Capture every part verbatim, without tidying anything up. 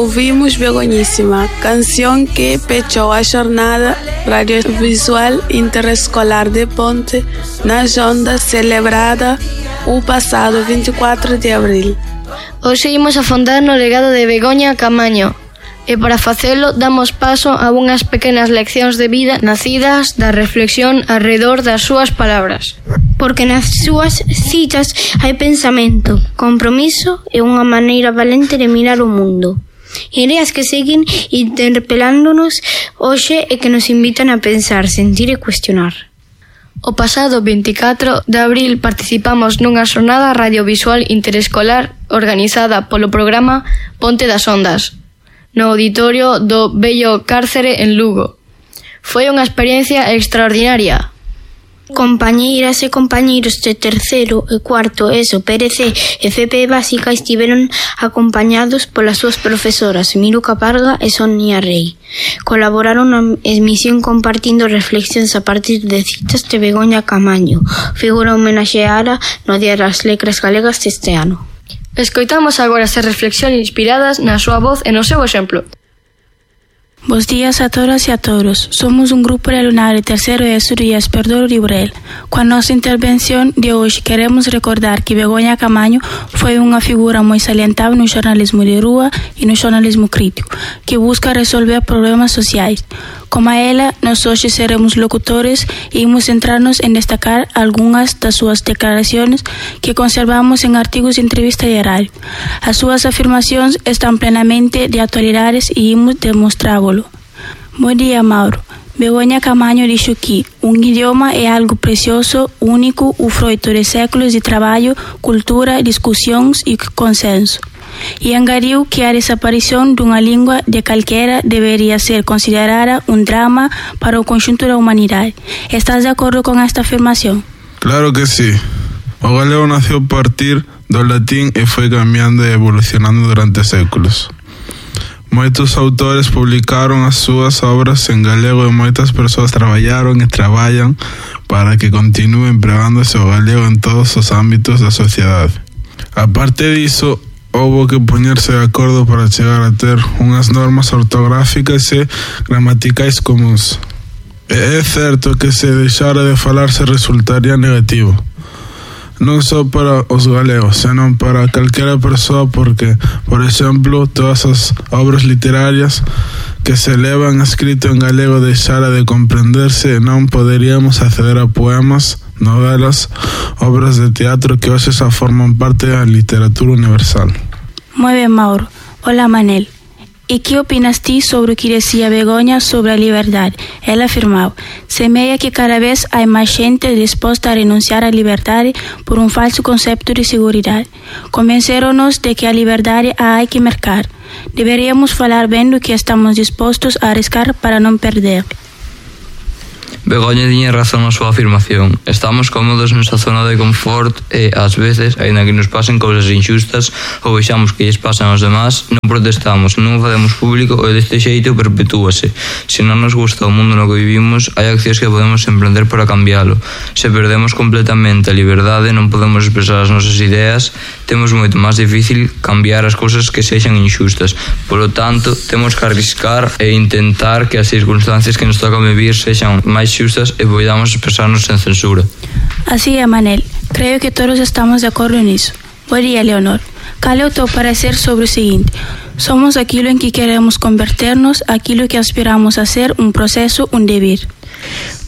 ouvimos Begonhíssima, canção que fechou a jornada radiovisual interescolar de Ponte nas ondas celebrada o passado vinte e quatro de abril. Hoxe imos afondar no legado de Begoña Caamaño e para facelo damos paso a unhas pequenas leccións de vida nacidas da reflexión arredor das súas palabras. Porque nas súas citas hai pensamento, compromiso e unha maneira valente de mirar o mundo. Ideas que seguen interpelándonos hoxe e que nos invitan a pensar, sentir e cuestionar. O pasado vinte e catro de abril participamos nunha xornada radiovisual interescolar organizada polo programa Ponte das Ondas, no auditorio do Bello Cárcere en Lugo. Foi unha experiencia extraordinaria. Compañeiras e compañeiros de terceiro e cuarto ESO, P R C e F P Básica estiveron acompañados polas súas profesoras Miruca Parga e Sonia Rey. Colaboraron na emisión compartindo reflexións a partir de citas de Begoña Caamaño, figura homenaxeada no Día das Letras Galegas deste ano. Escoitamos agora estas reflexións inspiradas na súa voz e no seu exemplo. Bos días a todas e a todos. Somos um grupo de alumnado de terceiro ESO do I E S Perdoro Librel. Com a nossa intervenção de hoje, queremos recordar que Begoña Caamaño foi uma figura muito salientável no jornalismo de rua e no jornalismo crítico, que busca resolver problemas sociais. Como a ela, nós hoje seremos locutores e vamos centrar-nos em destacar algumas das suas declarações que conservamos em artigos de entrevista diária. As suas afirmações estão plenamente de atualidade e vamos demonstrá-lo. Bom dia, Mauro. Begoña Caamaño disse que um idioma é algo precioso, único, o fruto de séculos de trabalho, cultura, discussões e consenso. E engadiu que a desaparição de uma língua de qualquer deveria ser considerada um drama para o conjunto da humanidade. Estás de acordo com esta afirmação? Claro que sim. O galego nasceu a partir do latim e foi caminhando e evolucionando durante séculos. Muitos autores publicaram as suas obras em galego e muitas pessoas trabalharam e trabalham para que continue empregando-se o galego em todos os âmbitos da sociedade. A partir disso, houve que poñerse de acordo para chegar a ter unhas normas ortográficas e gramaticais comuns. E é certo que se deixara de falarse resultaría negativo, non só para os galegos, senón para calquera persoa porque, por exemplo, todas as obras literarias que se levan escrito en galego deixara de comprenderse e non poderíamos acceder a poemas, novelas, obras de teatro que hoxe xa forman parte da literatura universal. Moi ben, Mauro. Hola, Manel. E que opinas ti sobre o que decía Begoña sobre a liberdade? Ela afirmou: semeia que cada vez hai máis xente disposta a renunciar á liberdade por un falso concepto de seguridade. Convenceron-nos de que a liberdade a hai que mercar. Deberíamos falar ben do que estamos dispostos a arriscar para non perder. Begoña tiña razón na súa afirmación. Estamos cómodos nesa zona de confort e, ás veces, aínda que nos pasen cousas injustas ou vexamos que lles pasan aos demás, non protestamos, non o facemos público e deste xeito perpetúase. Se non nos gusta o mundo no que vivimos, hai accións que podemos emprender para cambiálo. Se perdemos completamente a liberdade, non podemos expresar as nosas ideas, temos moito máis difícil cambiar as cousas que sexan injustas. Polo tanto, temos que arriscar e intentar que as circunstancias que nos tocan vivir sexan máis xustas e podamos expresarnos sen censura. Así é, Manel. Creo que todos estamos de acordo nisso. Bom dia, Leonor. Cal é o teu parecer sobre o seguinte? Somos aquilo en que queremos converternos, aquilo que aspiramos a ser, un proceso, un deber.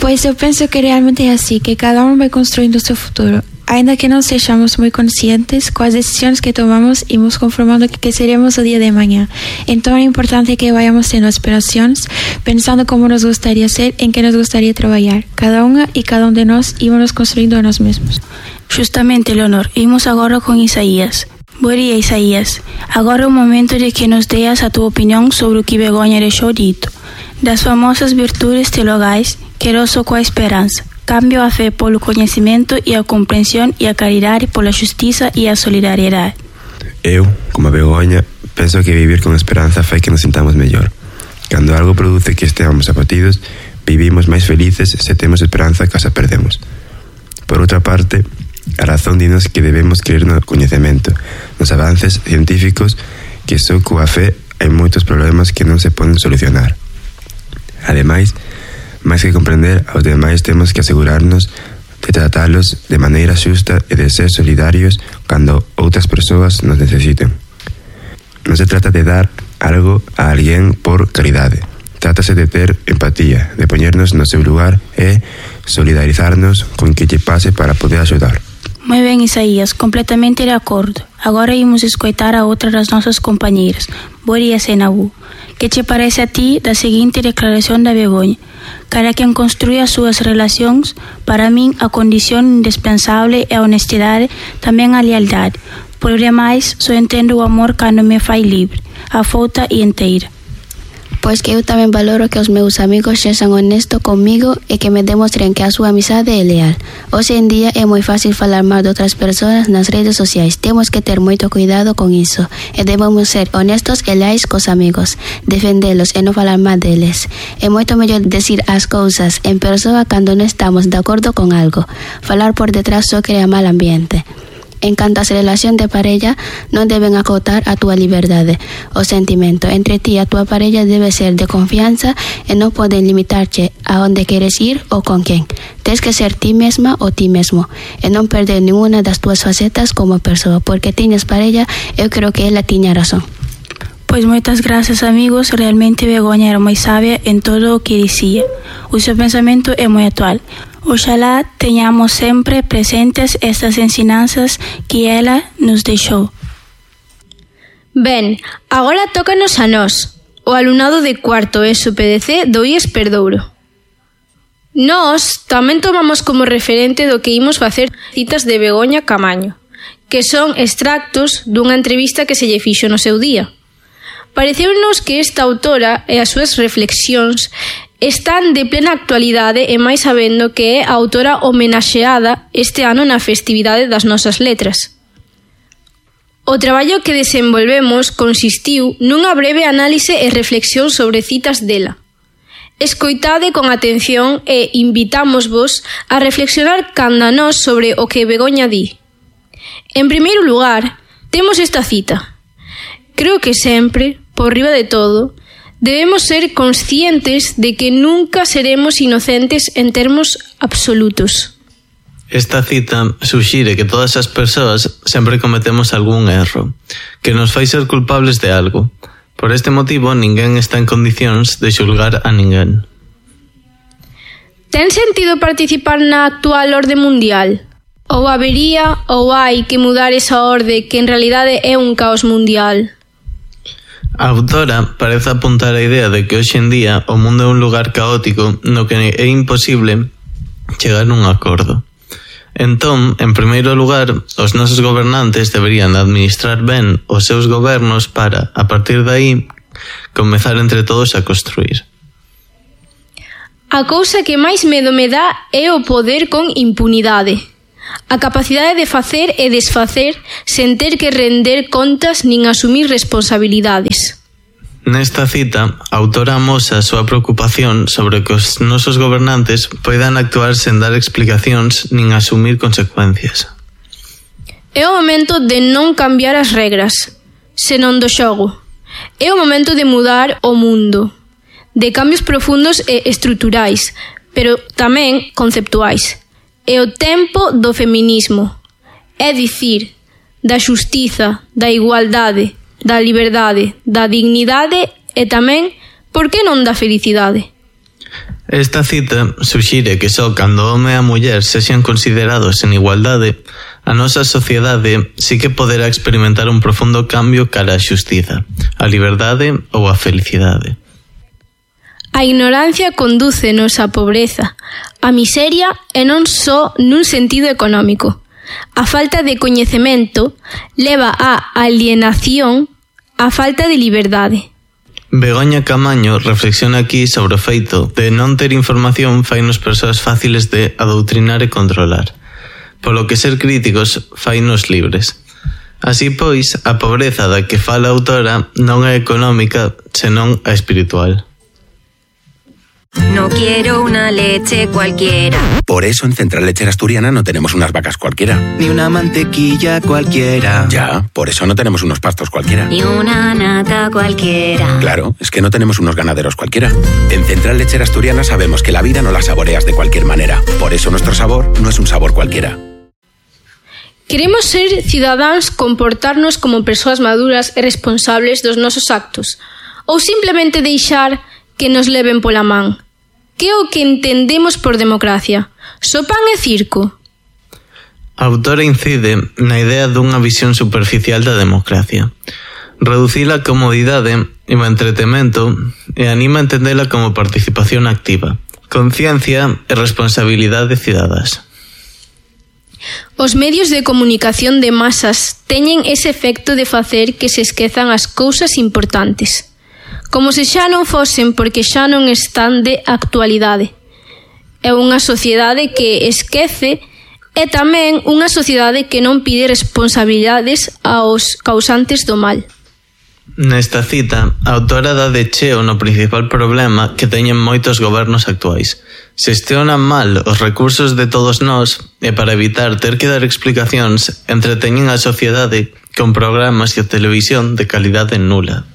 Pois eu penso que realmente é assim, que cada um vai construindo o seu futuro. Ainda que não sejamos muito conscientes, com as decisões que tomamos, irmos conformando que seremos o dia de amanhã. Então é importante que vayamos tendo aspirações, pensando como nos gostaria ser, em que nos gostaria trabalhar. Cada uma e cada um de nós íamos construindo a nós mesmos. Justamente, Leonor, imos agora com Isaías. Bom dia, Isaías. Agora é o momento de que nos deas a tua opinião sobre o que Begoña deixou dito. Das famosas virtudes teologais, quero só com a esperança. Cambio a fé polo conhecimento e a compreensão e a caridade pola justiça e a solidariedade. Eu, como a Begoña, penso que vivir con esperanza fai que nos sintamos mellor. Cando algo produce que esteamos abatidos, vivimos máis felices se temos esperanza que as perdemos. Por outra parte, a razón dinos que debemos creer no coñecemento, nos avances científicos, que só coa fé hai moitos problemas que non se poden solucionar. Ademais, máis que comprender aos demais, temos que asegurarnos de tratalos de maneira xusta e de ser solidarios cando outras persoas nos necesiten. Non se trata de dar algo a alguén por caridade. Trátase de ter empatía, de poñernos no seu lugar e solidarizarnos con que lle pase para poder axudar. Moi ben, Isaías, completamente de acordo. Agora imos escoitar a outra das nosas compañeiras, Boria Senabu. Que che parece a ti da seguinte declaración da Begoña? Cara quen construye as súas relacións, para min a condición indispensable é a honestidade, tamén a lealdade. Por demais, só entendo o amor cando me fai libre, afouta e inteira. Pois que eu tamén valoro que os meus amigos sexan honestos comigo e que me demostren que a súa amizade é leal. Hoxe en día é moi fácil falar mal de outras persoas nas redes sociais. Temos que ter moito cuidado con iso e debemos ser honestos e leais cos amigos, defendelos e non falar mal deles. É moito mellor decir as cousas en persoa cando non estamos de acordo con algo. Falar por detrás só crea mal ambiente. En canto a relación de parella, non deben acotar a túa liberdade. O sentimento entre ti e a túa parella debe ser de confianza e non poden limitarche a onde queres ir ou con quen. Tens que ser ti mesma ou ti mesmo e non perder ninguna das túas facetas como persoa, porque tiñas parella, eu creo que ela tiña razón. Pois moitas grazas, amigos. Realmente Begoña era moi sabia en todo o que dicía. O seu pensamento é moi actual. Oxalá teñamos sempre presentes estas ensinanzas que ela nos deixou. Ben, agora tócanos a nós, o alumnado de cuarto ESO P D C do I E S Perdouro. Nós tamén tomamos como referente do que imos facer citas de Begoña Camaño, que son extractos dunha entrevista que se lle fixo no seu día. Pareceunos que esta autora e as súas reflexións están de plena actualidade e máis sabendo que é a autora homenaxeada este ano na festividade das nosas letras. O traballo que desenvolvemos consistiu nunha breve análise e reflexión sobre citas dela. Escoitade con atención e invitámosvos a reflexionar canda nós sobre o que Begoña di. En primeiro lugar, temos esta cita. Creo que sempre, por riba de todo, debemos ser conscientes de que nunca seremos inocentes en termos absolutos. Esta cita suxire que todas as persoas sempre cometemos algún erro, que nos fai ser culpables de algo. Por este motivo, ninguén está en condicións de xulgar a ninguén. Ten sentido participar na actual orde mundial? Ou habería ou hai que mudar esa orde que en realidade é un caos mundial? A autora parece apuntar a idea de que hoxe en día o mundo é un lugar caótico no que é imposible chegar a un acordo. Entón, en primeiro lugar, os nosos gobernantes deberían administrar ben os seus gobernos para, a partir de aí, comezar entre todos a construir. A cousa que máis medo me dá é o poder con impunidade. A capacidade de facer e desfacer sen ter que render contas nin asumir responsabilidades. Nesta cita, a autora amosa a súa preocupación sobre que os nosos gobernantes poidan actuar sen dar explicacións nin asumir consecuencias. É o momento de non cambiar as regras, senón do xogo. É o momento de mudar o mundo, de cambios profundos e estruturais, pero tamén conceptuais. É o tempo do feminismo, é dicir, da xustiza, da igualdade, da liberdade, da dignidade e tamén, por que non da felicidade? Esta cita suxire que só cando o home e a muller sexan considerados en igualdade, a nosa sociedade sí que poderá experimentar un profundo cambio cara á xustiza, a liberdade ou a felicidade. A ignorancia condúcenos á pobreza, á miseria e non só nun sentido económico. A falta de coñecemento leva á alienación, á falta de liberdade. Begoña Camaño reflexiona aquí sobre o feito de non ter información fainos persoas fáciles de adoutrinar e controlar, polo que ser críticos fainos libres. Así pois, a pobreza da que fala a autora non é económica, senón a espiritual. No quiero una leche cualquiera. Por eso en Central Lechera Asturiana no tenemos unas vacas cualquiera. Ni una mantequilla cualquiera. Ya, por eso no tenemos unos pastos cualquiera. Ni una nata cualquiera. Claro, es que no tenemos unos ganaderos cualquiera. En Central Lechera Asturiana sabemos que la vida no la saboreas de cualquier manera. Por eso nuestro sabor no es un sabor cualquiera. Queremos ser cidadáns, comportarnos como persoas maduras e responsables dos nosos actos, ou simplemente deixar que nos leven pola man. Que é o que entendemos por democracia? Só pan e circo? A autora incide na idea dunha visión superficial da democracia. Reducir a comodidade e o entretemento e anima a entendela como participación activa, conciencia e responsabilidade cidadás. Os medios de comunicación de masas teñen ese efecto de facer que se esquezan as cousas importantes, como se xa non fosen porque xa non están de actualidade. É unha sociedade que esquece e tamén unha sociedade que non pide responsabilidades aos causantes do mal. Nesta cita, a autora dá de cheo no principal problema que teñen moitos gobernos actuais. Xestionan mal os recursos de todos nós e para evitar ter que dar explicacións entreteñen a sociedade con programas de televisión de calidade nula.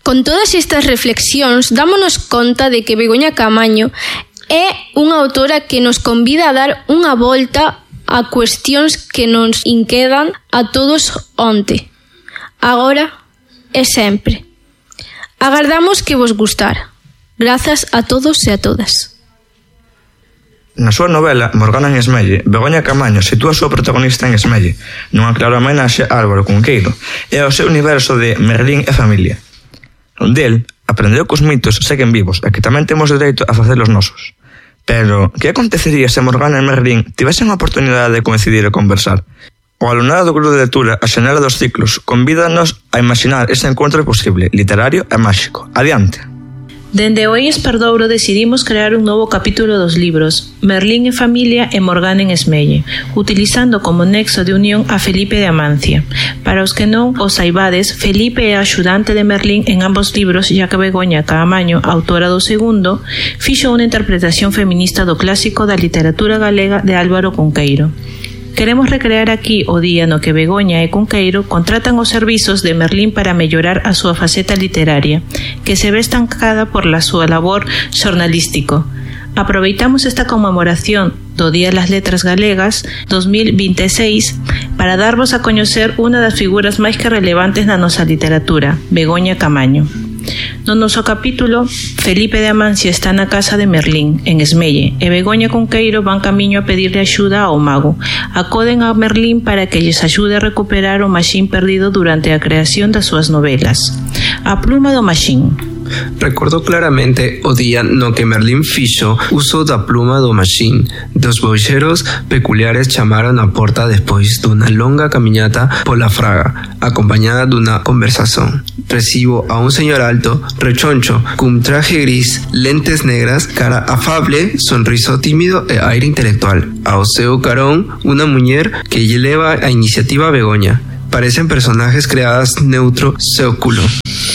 Con todas estas reflexións, dámonos conta de que Begoña Caamaño é unha autora que nos convida a dar unha volta a cuestións que nos inquedan a todos onte, agora e sempre. Agardamos que vos gustar. Grazas a todos e a todas. Na súa novela Morgana en Esmelle, Begoña Caamaño sitúa a súa protagonista en Esmelle, nunha clara homenaxe a Álvaro Cunqueiro e ao seu universo de Merlín e familia. Del aprendeu que os mitos seguen vivos e que tamén temos dereito a facer os nosos. Pero, que acontecería se Morgana e Merlín tivesen a oportunidade de coincidir e conversar? O alumnado do grupo de lectura A Xanela dos Ciclos convídanos a imaginar ese encontro posible, literario e máxico. Adiante! Dende o Eis Perdouro decidimos crear un novo capítulo dos libros Merlín e familia e Morgana en Esmelle, utilizando como nexo de unión a Felipe de Amancia. Para os que non o saibades, Felipe é axudante de Merlín en ambos libros, ya que Begoña Caamaño, autora do segundo, fixo unha interpretación feminista do clásico da literatura galega de Álvaro Cunqueiro. Queremos recrear aquí o día no que Begoña e Cunqueiro contratan os servizos de Merlín para mellorar a súa faceta literaria, que se ve estancada por la súa labor xornalístico. Aproveitamos esta conmemoración do Día das Letras Galegas dos mil vinte e seis para darvos a coñecer unha das figuras máis que relevantes na nosa literatura, Begoña Caamaño. No noso capítulo, Felipe de Amancia está na casa de Merlín, en Esmelle, e Begoña e Cunqueiro van camiño a pedirle axuda ao mago. Acoden a Merlín para que lles axude a recuperar o maxín perdido durante a creación das súas novelas. A pluma do maxín. Recordo claramente o día no que Merlín fixo uso da pluma do maxín. Dos boixeros peculiares chamaron a porta despois dunha longa camiñata pola fraga, acompañada dunha conversación. Recibo a un señor alto, rechoncho, cun traje gris, lentes negras, cara afable, sonriso tímido e aire intelectual. Ao seu carón, unha muller que lle leva a iniciativa a Begoña. Parecen personajes creadas neutro século.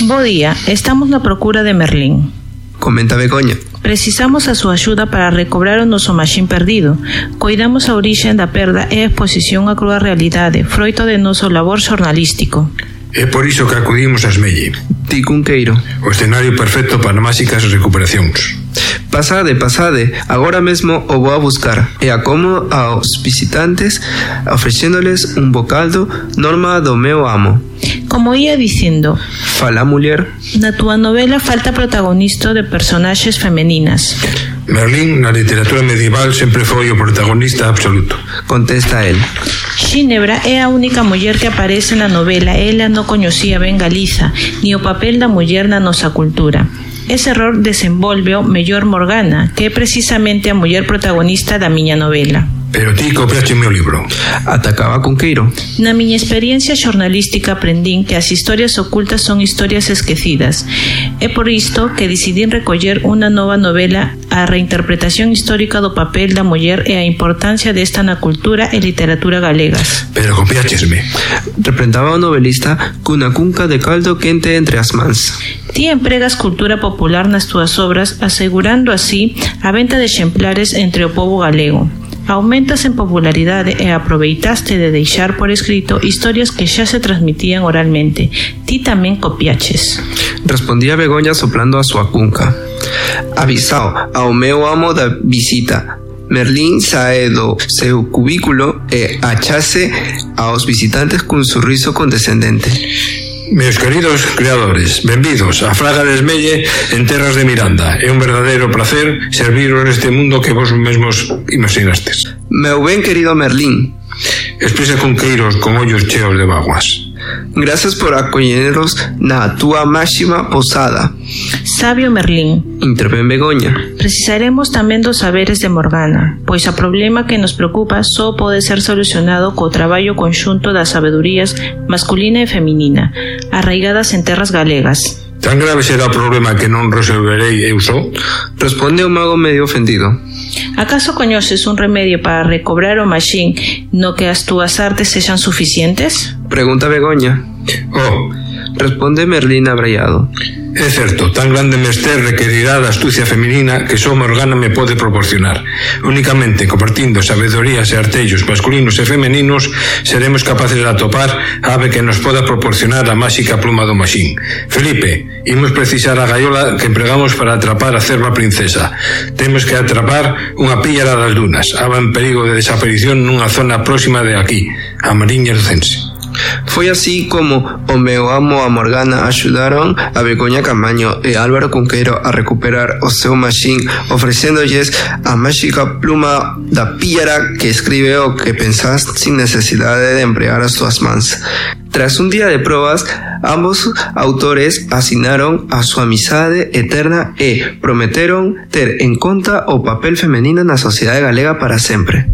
Bo día, estamos na procura de Merlín. Comenta Begoña. Precisamos a súa axuda para recobrar o noso maxín perdido. Coidamos a orixe da perda e a exposición á crúa realidade, froito de noso labor xornalístico. É por iso que acudimos a Esmelle. Ti Cunqueiro. O escenario perfecto para máxicas recuperacións. Pasade, pasade, agora mesmo o vou a buscar e acomo aos visitantes ofrecéndoles un bocaldo norma do meu amo. Como ia dicindo, fala muller. Na túa novela falta protagonista de personaxes femeninas. Merlín na literatura medieval sempre foi o protagonista absoluto. Contesta el. Xinebra é a única muller que aparece na novela. Ela non coñecía ben Galiza, ni o papel da muller na nosa cultura. Ese error desenvolve o mellor Morgana, que é precisamente a muller protagonista da miña novela. Pero ti copiaste o meu libro. Atacaba Cunqueiro. Na miña experiencia xornalística aprendín que as historias ocultas son historias esquecidas. É por isto que decidín recoller unha nova novela, a reinterpretación histórica do papel da muller e a importancia desta na cultura e literatura galegas. Pero copiáchesme. Reprendaba o novelista cunha cunca de caldo quente entre as mans. Ti empregas cultura popular nas túas obras, asegurando así a venta de exemplares entre o pobo galego. Aumentas en popularidade e aproveitaste de deixar por escrito historias que xa se transmitían oralmente. Ti tamén copiaches. Respondía Begoña soplando a súa cunca. Avisao ao meu amo da visita. Merlín sae do seu cubículo e achase aos visitantes cun sorriso condescendente. Meus queridos creadores, benvidos a Fraga de Esmelle en terras de Miranda. É un verdadeiro placer serviros neste mundo que vos mesmos imaginastes. Meu ben querido Merlín. Expresa Cunqueiros con ollos cheos de vaguas. Gracias por acolleros na túa máxima posada. Sabio Merlín, intervén Begoña. Precisaremos tamén dos saberes de Morgana, pois o problema que nos preocupa só pode ser solucionado co traballo conxunto das sabedurías masculina e feminina, arraigadas en terras galegas. Tan grave será o problema que non resolverei eu só? Responde o mago medio ofendido. Acaso coñeces un remedio para recobrar o maxín no que as túas artes sexan suficientes? Pregunta Begoña. Oh, responde Merlín abraiado. É certo, tan grande mester requerirá da astucia feminina que só Morgana me pode proporcionar. Únicamente compartindo sabedorías e artellos masculinos e femeninos seremos capaces de atopar a ave que nos poda proporcionar a máxica pluma do maxín. Felipe, imos precisar a gaiola que empregamos para atrapar a cerva princesa. Temos que atrapar unha píllara das dunas, ave en perigo de desaparición nunha zona próxima de aquí, a Mariña Lucense. Foi así como o meu amo a Morgana axudaron a Begoña Camaño e Álvaro Cunqueiro a recuperar o seu maxín, ofrecéndolles a máxica pluma da píllara que escribe o que pensás sin necesidade de empregar as túas mans. Tras un día de probas, ambos autores asinaron a súa amizade eterna e prometeron ter en conta o papel femenino na sociedade galega para sempre.